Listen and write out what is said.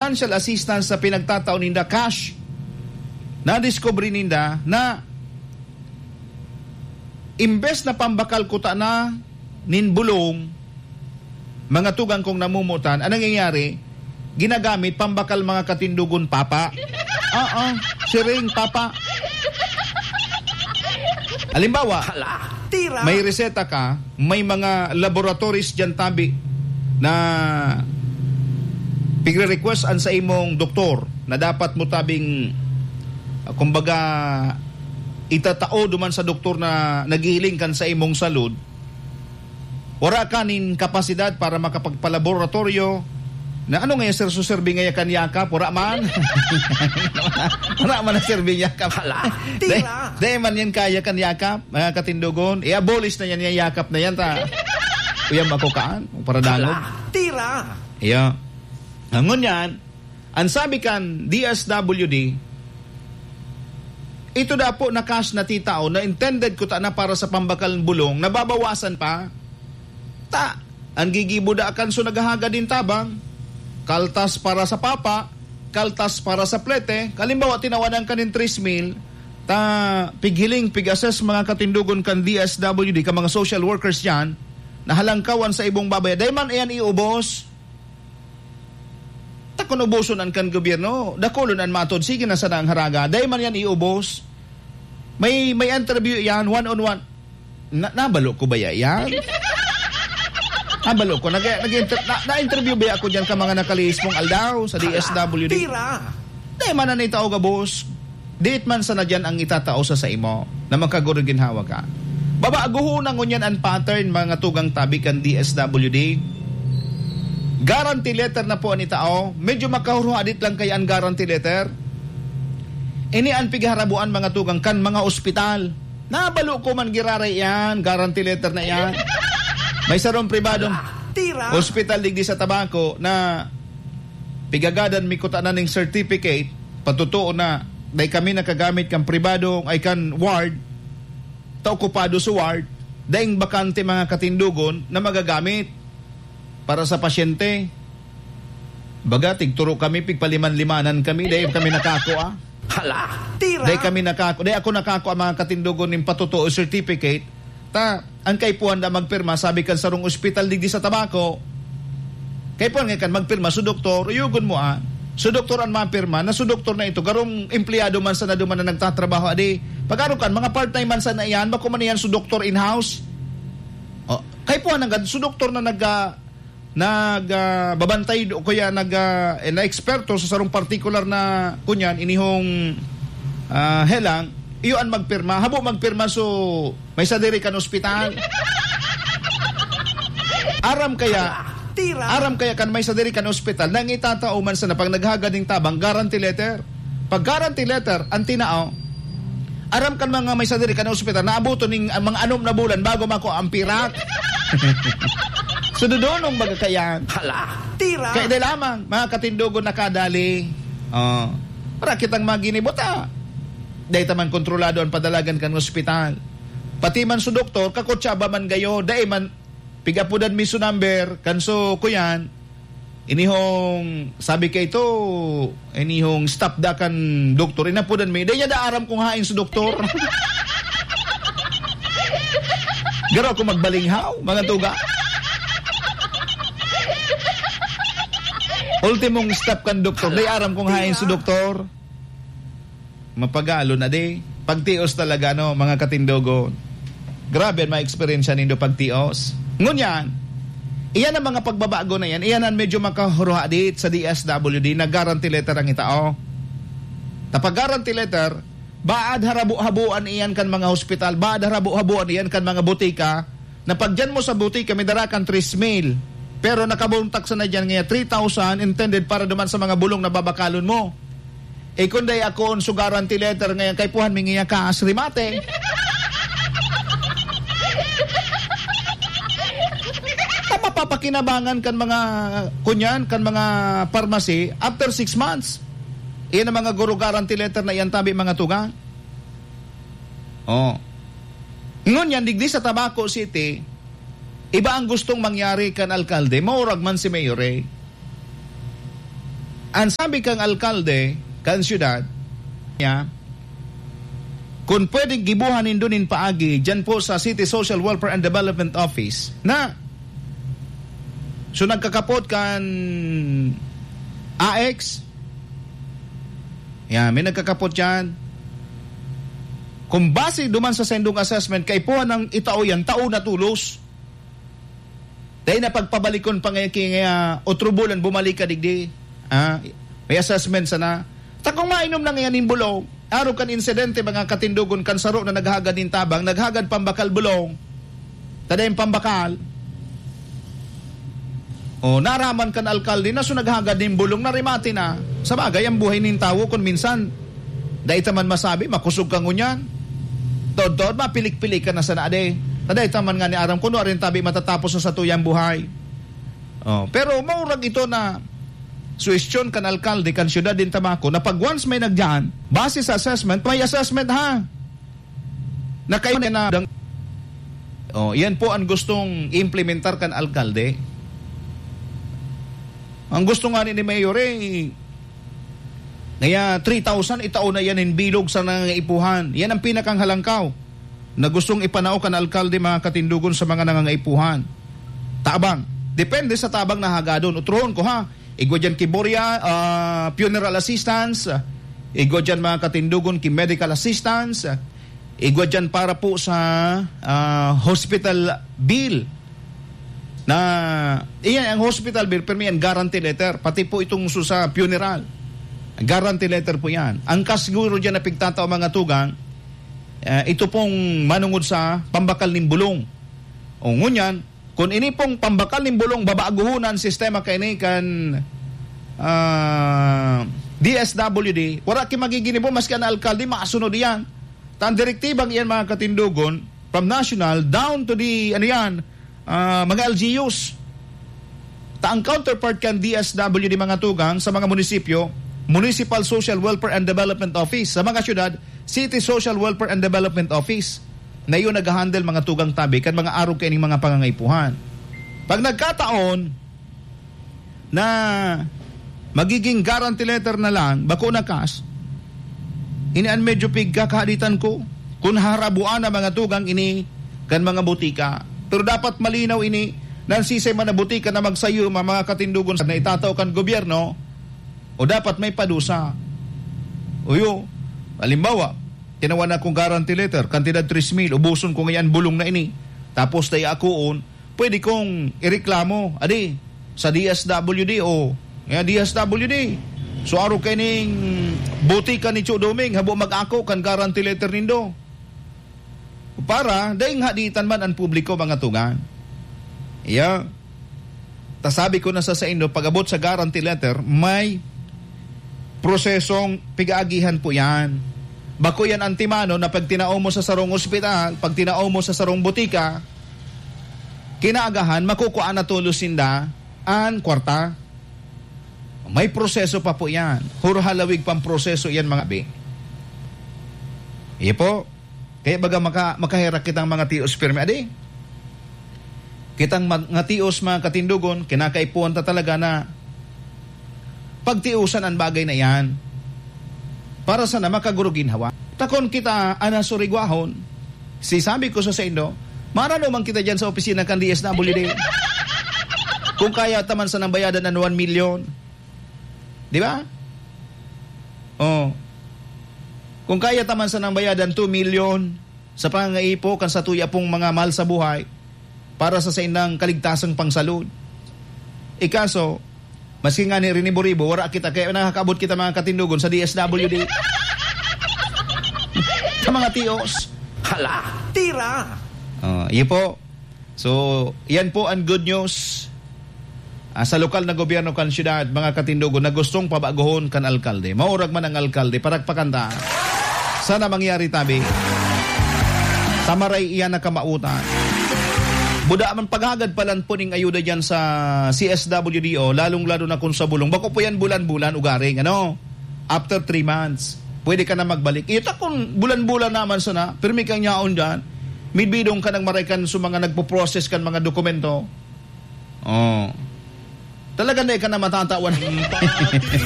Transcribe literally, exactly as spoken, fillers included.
financial assistance na pinagtatao ninda cash, nadiskubre ninda na imbes na pambakal kuta na nin bulong, mga tugang kong namumutan, ang nangyayari, ginagamit pambakal mga katindogon, papa. Oo, siring, papa. Halimbawa, Hala, tira! May reseta ka, may mga laboratories diyan tabi na pigre-request an sa imong doktor na dapat mo tabing, ah, kumbaga, itatao duman sa doktor na naghihiling kan sa imong salud. Wara ka nin kapasidad para makapagpalaboratoryo. Na ano nga yung serso-serbi nga kan Yakap? Wara man. Wara man ang serbi Yakap. Hala, tira! Dai, dai man yan kaya kan Yakap, mga katindogon. I-abolish na yan, yung Yakap na yan, ta. Uyam ako kaan, para dangog. Hala, tira! Iya. Ngunyan yan, ang sabi kan D S W D, ito daw po na cash na titao na intended kuta na para sa pambakal bulong, nababawasan pa. Ta, ang gigibo da kan so naghahagad din tabang, kaltas para sa papa, kaltas para sa plete. Kalimbawa, tinawanan ka nin tres mil, ta pighiling, pig-assess mga katindogon kan D S W D, ka mga social workers yan, na halangkawan sa ibong babaya. Dai man iyan iubos. Ta kun uboson an kan gobyerno, dakulon an matod, sige na sana ang haraga. Dai man yan iubos. May, may interview yan, one on one. Na, nabalo ko ba ya-, yan? Nabalo ko. Nag, nag, na, na-interview ba ako dyan ka mga nakalihis mong aldaw sa D S W D? Tira! Dai man na itao gabos. Diit man sana diyan ang itatao sa saimo na makagurog ginhawa ka. Babaguhon na ngunyan an pattern, mga tugang tabi kan D S W D. Guarantee letter na po an itao. Medyo makahuruhadit lang kaya an guarantee letter. Ini an pigharabuan, mga tugang, kan mga ospital. Nabalo ko man giraray iyan, guarantee letter na iyan. May sarong pribadong Tira! Ospital digdi sa Tabaco na pigagadan mi kutana ning certificate, patotoo na, dai kami nakagamit kan pribado, ay kan ward, ta okupado sa ward, daing bakante mga katindogon na magagamit para sa pasyente. Baga, tigturo kami, pigpaliman-limanan kami, dai kami nakakua. Hala, tira! Dai kami nakakua, dai ako nakakua mga katindogon ning patotoo certificate, Ta, ang kaipuhan na magpirma, sabi kan sarong ospital digdi sa Tabaco, kaipuhan nga kan magpirma, so doktor, uyogon mo, ah. So doktor an mapirma, na so doktor na ito, garong empleyado man sana duman na nagtatrabaho, adi, pag-aro kan, mga part-time man sana iyan, bako man iyan so doktor in-house. Oh, kaipuhan na gad, so doktor na nag, ah, nag, ah, babantay o kaya nag, ah, eh, na eksperto sa sarong partikular na, kunyan, inihong, ah, helang, iyo an magpirma. Habo magpirma, so, may sadiri kan ospital. Aram kaya, Tira! Aram kaya kan may sadiri kan ospital, nang itatao man sana pag naghagad ning tabang, guarantee letter. Pag guarantee letter, ang tinao, aram kan mga may sadiri kan ospital, naabuton ning, ah, mga anom na bulan bago mako ang pirak. So, dodonong baga kayan. Hala, tira! Kaya di lamang, mga katindogon nakadali. Oh. Para kitang maginibo ta. Dai ta man kontrolado ang padalagan kan ospital. Pati man sa doktor, kakutsaba man gayo, dai man pigapudan mi so number, kan so kuyan, inihong, sabi kay ito, inihong staff da kan doktor, inapudan mi, dai niya da aram kung hain so doktor. Garo ako magbalinghaw, mga tuga. Ultimong step kan doktor, dai aram kung hain so doktor. Mapagalo na di. Pagtios talaga, no, mga katindogon. Grabe ang mga eksperyensya nindo pagtios. Ngunyan, iyan ang mga pagbabago na yan. Iyan ang medyo makahuruhadit sa D S W D na guarantee letter ang itao. Ta pag guarantee letter, baad harabo-haboan iyan kan mga hospital, baad harabo-haboan iyan kan mga botika, na pag diyan mo sa butika, may dara kang tres mil. Pero nakabuntak sana diyan nga three thousand intended para duman sa mga bulong na babakalon mo. Eh, kun dai ako on so guarantee letter ngayon, kaipuhan mi ngayon kas remate. Ang mapapakinabangan kan mga, kunyan, kan mga pharmacy after six months. Iyan ang mga guro guarantee letter na iyan tabi, mga tugang. Oh. Ngunyan, digdi sa Tabaco City, iba ang gustong mangyari kan alkalde, maurag man si Mayor eh. Ang sabi kang alkalde, kan syudad, niya, kung pwedeng gibuhan nindo nin paagi dyan po sa City Social Welfare and Development Office, na, so, nagkakapot kan A X, yan, may nagkakapot yan. Kung base duman sa sendong assessment, kaipuhan ng itao yan, tao na tulos. Dai na pagpabalikon pa nga ki-, nga otro bulan bumalik ka digdi. Ah, may assessment sana. Ta kung mainom na ngayon nin bulong, arog kan insidente, mga katindogon, kan saro na naghagad nin tabang, naghagad pambakal bulong. Ta dai pambakal. O, naraman kan alkalde na so naghagad nin bulong na remate na. Sa bagay, ang buhay nin tawo, kung minsan, dai ta man masabi, makusog ka ngunyan. Tod-tod, mapilik-pilik ka na sana, ade. Taday taman nga ni aram kuno arin tabi matatapos sa satuyang buhay. Oh, pero maurag ito na suwestyon kan alkalde kan siyudad din Tamaco na pag once may nagdiyan, base sa assessment, may assessment ha. Na kayo na dang-, oh, yan po ang gustong implementar kan alkalde. Ang gusto nga ni Mayor, eh, kaya three thousand, itao na yan in bilog sa nangangaipuhan. Yan ang pinakang halangkaw na gustong ipanao kan alkalde, mga katindugon, sa mga nangangaipuhan. Tabang. Depende sa tabang na hagadon. Utrohon ko, ha. Igwa dyan ki Boria, ah, funeral assistance. Igwa dyan, mga katindugon, ki medical assistance. Igwa dyan para po sa, ah, hospital bill. Na, iyan ang hospital bill, pero may guarantee letter. Pati po itong su-, sa funeral. Guarantee letter po yan. Ang kas siguro dyan na pigtatao, mga tugang, eh, ito pong manungod sa pambakal nin bulong. O ngunyan, kung ini pong pambakal nin bulong, babaguhon ang sistema kaini kan, ah, D S W D, wala ki magiginibo, maski ang alkalde, masunod iyan. Ta ang direktibang iyan, mga katindugon, from national down to the, ano yan, ah, mga L G Us. Ta ang counterpart kan D S W D, mga tugang, sa mga munisipyo, Municipal Social Welfare and Development Office. Sa mga syudad, City Social Welfare and Development Office. Na iyo naghahandle, mga tugang tabi, kan mga arog kaining mga pangangaipuhan. Pag nagkataon na magiging guarantee letter na lang, bako na cash, ini an medyo pigkakahaditan ko. Kun harabuan na, mga tugang, ini kan mga butika. Pero dapat malinaw ini, na an sisay man na butika na magsayo, ma-, mga katindugon, na itatao kan gobyerno, o dapat may padusa. Uyo, halimbawa, tinawan akong guarantee letter, kantidad tres mil, ubuson ko ngayon bulong na ini. Tapos tayo akoon, pwede kong ireklamo, adi, sa D S W D o, nga D S W D. So, arog kaining butika ni Cho Doming, habo mag-ako kan guarantee letter nindo. Para, daing haditan man ang publiko, mga tugang. Iya. Ta sabi ko na sa saindo, pag-abot sa guarantee letter, may prosesong pig-aagihan po yan. Bako yan antimano na pag tinao mo sa sarong ospital, pag tinao mo sa sarong butika, kinaagahan, makukuha na tulos sinda an kwarta. May proseso pa po yan. Hurhalawig pang proseso yan, mga bi. Iyo po. Kaya baga maka-, makaherak kitang mga tios pirmi. Adi, kitang mga tios, mga katindugon, kinakaipuhan ta talaga na pagtiusan ang bagay na yan. Para sana makaguro ginhawa. Takon kita, ana surigwahon. Si sabi ko sa saindo, marano man kita dyan sa opisina kan D S W D. Kung kaya taman sa nang bayadan ang one million. Di ba? Oh. Kung kaya taman sa nang bayadan two million sa pangangaipo kan sa tuya pong mga mahal sa buhay para sa saindang kaligtasang pangsalud. Ikaso, maski nga ni Rinibo-ribo, wala kita, kaya nakakaabot kita mga katindugon sa D S W D. Sa mga tios. Hala, tira! Oh, iyo po. So, yan po ang good news. Ah, sa lokal na gobyerno kan syudad, mga katindugon na gustong pabagohon kan alkalde. Maurag man ang alkalde, parakpakan ta. Sana mangyari tabi. Tamaray iyan na kamautan. Buda man paghagad palan po ning ayuda dyan sa C S W D O, lalong-lalo na kung sa bulong. Bako po yan bulan-bulan ugaring, ano? After three months, pwede ka na magbalik. Ito kung bulan-bulan naman sana, pirmi kang yaon dyan, may bidong ka nang maray kan sa mga nagpo-process kan mga dokumento. Oh. Talaga na ka na matatawan.